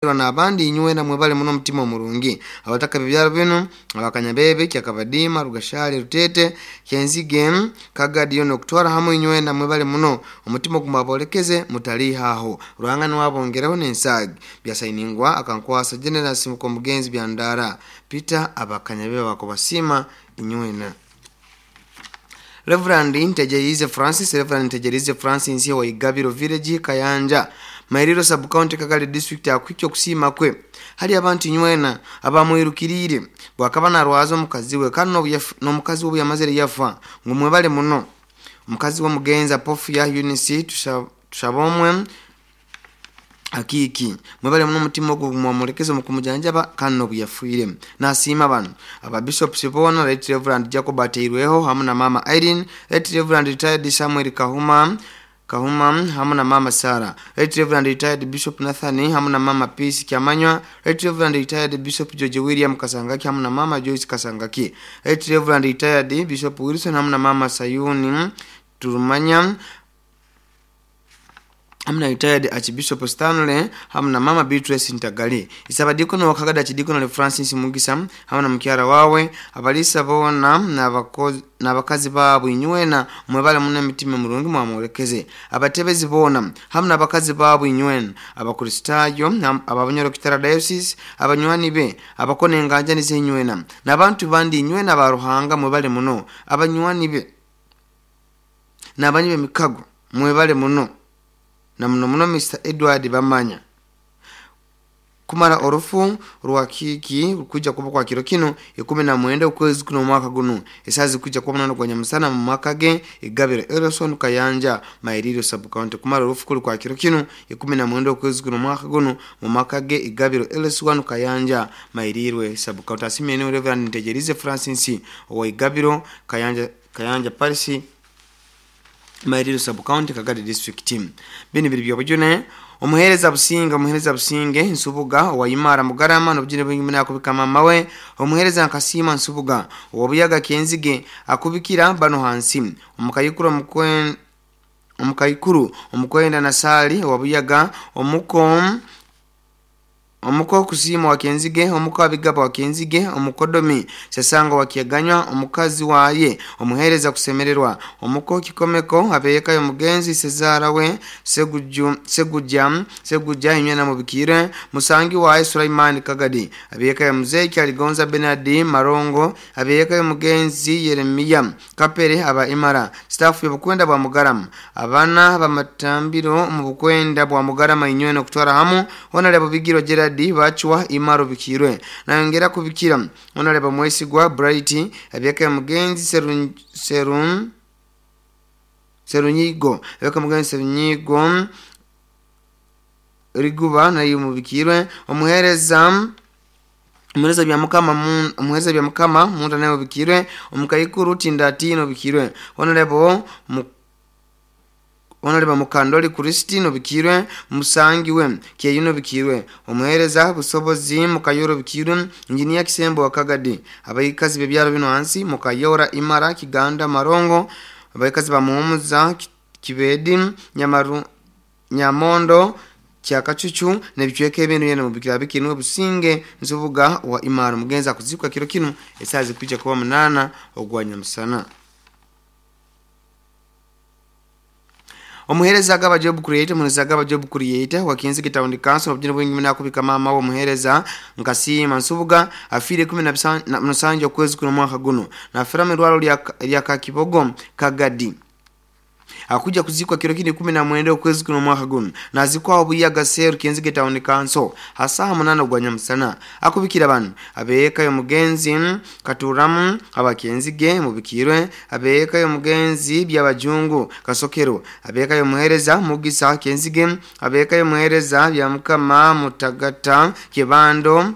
N'abandi inywena mwebale muno omutima omurungi. Abataka b'ebyaro binu Abakanyabebe, Kyakabadiima, Rugashali, Rutete, Kyenzige, Kagadi nokutwara hamu inywena mwebale muno omutima ogu mwabolekeze mutaliihaho. Ruhanga nuwe abongereho n'ensaagi. Byasainingwa Akankwasa Generous Mukomugenzi Byandara Peter. Abakanyabebe bakubasiima inywena. Reverend Ntegerize Francis. Reverend Ntegerize Francis wa Igabiro Village, Kayanja, Mairiro Sub County, Kagali District, akuhikya okusiima kwe hali abantu inywena abamwirukiriire bwakaba narwaza omukazi we, kandi n'omukazi we obu yamazire yafa, ngu mwebale muno. Omukazi w'omugenzi Apofia Eunice Tushabomwe Akiiki, mwebale muno omutima ogu mwamulekeze omu kumujanjaba kandi n'obu yafiire. Nasiima banu: Ababishops boona, Right Reverend Jacob Ateirweho hamu na Mama Irene, Right Reverend Retired Samuel Kahuma Kahuma hamu na Mama Sarah, Right Reverend Retired Bishop Nathan hamu na Mama Peace Kyamanywa, Right Reverend Retired Bishop George William Kasangaki hamu na Mama Joyce Kasangaki, Right Reverend Retired Bishop Wilson hamu na Mama Sayuni Turumanya, hamu na Retired Archbishop Stanley hamu na Mama Beatrice Ntagali. Isabadikono wakagada Archdeacon Francis Mugisa hamu na mukyara wawe, abalisa boona n'abakazi baabo inywena mwebale muno emitima emurungi mwamwolekeze. Abatebezi boona hamu n'abakazi baabo inywena, Abakristaayo Ababunyoro Kitara Diocese, abanywani be, abakona enganjani ze inywena, n'abantu bandi inywena ba Ruhanga mwebale muno. Abanywani be n'abanyi b'emikago mwebale muno, na muno muno Mr Edward Bamanya. Kumara orufu rwa Kiiki kuja kuba kwa kiro kinu 19 ukwezi kuno mwaka guno, esazi kuja kuba 8 gwa nyamusana mu maka ge Igabiro Erison, Kayanja, Mairiro Sub County. Kumara orufu kuli kwa kiro kinu 19 ukwezi kuno mwaka guno mu maka ge Igabiro Erison, Kayanja, Mairirwe Sub County. Asimye Reverend Ntegerize Francis owa Igabiro, Kayanja, Kayanja Parish, Mairiro Sub County, Kagadi District. Bini biri byobujune. Omuhereza Businga, omuhereza Businge Nsubuga owayimara Mugarama, nobujune bwingi muna akubika mama we omuhereza Nkasiima Nsubuga owobuyaga Kenzige, akubikira bano hansi: omukayikuru omukayikuru omukwenda Nasali owabuyaga, omuko omuko Kusiima wa Kenzige, omuko Abigaba wa Kenzige, omukodomi Sasanga wa Kiaganywa, omukazi waye omuhereza Kusemererwa, omuko Kikomeko, abeyekayo omugenzi Sezara we Seguju, Seguja, Seguja inywena mubikire musangi waye Sulaimani Kagadi, abeyekayo muzeyi Kyaligonza Benadi Marongo, abeyekayo omugenzi Yeremiya Kapere, aba Imara staff y'obukwenda bwa Mugarama, abana bamatambiro mu bukwenda bwa Mugarama inywena okutwara hamu. Honorable Bigiro Gerard Bachwa Imaro bikirwe nayongera kubikira Honorable Mwesigwa Bright, abyeka mugenzi Serun Serun Serunyigo, abyeka mugenzi Serunyigo Riguba nayo mubikirwe. Omuhereza, omuhereza bya mukama, omuhereza bya mukama munda nayo bikirwe. Omukayikuru Tindatino bikirwe. Honorable Honorable Mukandoli Christine bikirwe, musangiwe Kyeyuno bikirwe, omuhereza Busobozi Mukayoro bikirwe, Injinia Kisembo wa Kagadi, abayikazi bebyaro bino hansi: Mukayora, Imara, Kiganda, Marongo, abayikazi bamuhumuza, Kibedi, Nyamaru, Nyamondo, Kyakacucu nebicweka ebintu yena mubikira bikinwe Businge Nsubuga wa Imara. Mugenza kuzikwa kiro kinu esazi kuja kuba 8 ogwa nyamusana. Omuhereza Agaba Job Creator, omuhereza Agaba Job Creator wa Kenzige Town Council, obujune bwingi muna akubika mama we omuhereza Nkasiima Nsubuga, afiire 17 okwezi kuno mwaka guno, nafira mu irwaro lya Kakibogo, Kagadi. Akuja kuzikwa kiro kini 19 ukwezi kuno mwaka guno, nazikwa Obuyaga Seru, Kenzige Town Council, hasaha 8 gwa nyamusana. Akubikira bano: abeeka y'omugenzi Katuramu Abakenzige mubikirwe, abeeka y'omugenzi Byabajungu Kasokero, abeeka y'omuhereza Mugisa Kenzige, abeeka y'omuhereza Byamukama Mutagata Kibando,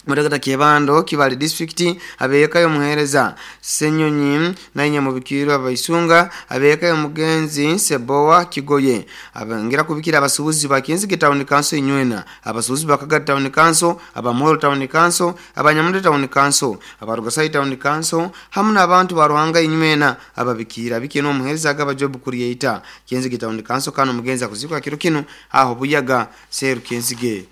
Mutagata Kibando, Kibale District, abeeka y'omuhereza Senyonyi nainya mubikirwe abaisunga, abeeka y'omugenzi Sebowa Kigoye. Abongera kubikira abasuubuzi ba Kenzige Town Council inywena, abasuubuzi ba Kagadi Town Council, Abamuhoro Town Council, Abanyamunde Town Council, Abarugasai Town Council, hamu n'abantu ba Ruhanga inywena ababikira bikye n'omuhereza Agaba Job Creator, Kenzige Town Council. Kano mugenzi akuzikwa kiro kinu aho Buyaga Seru, Kenzige.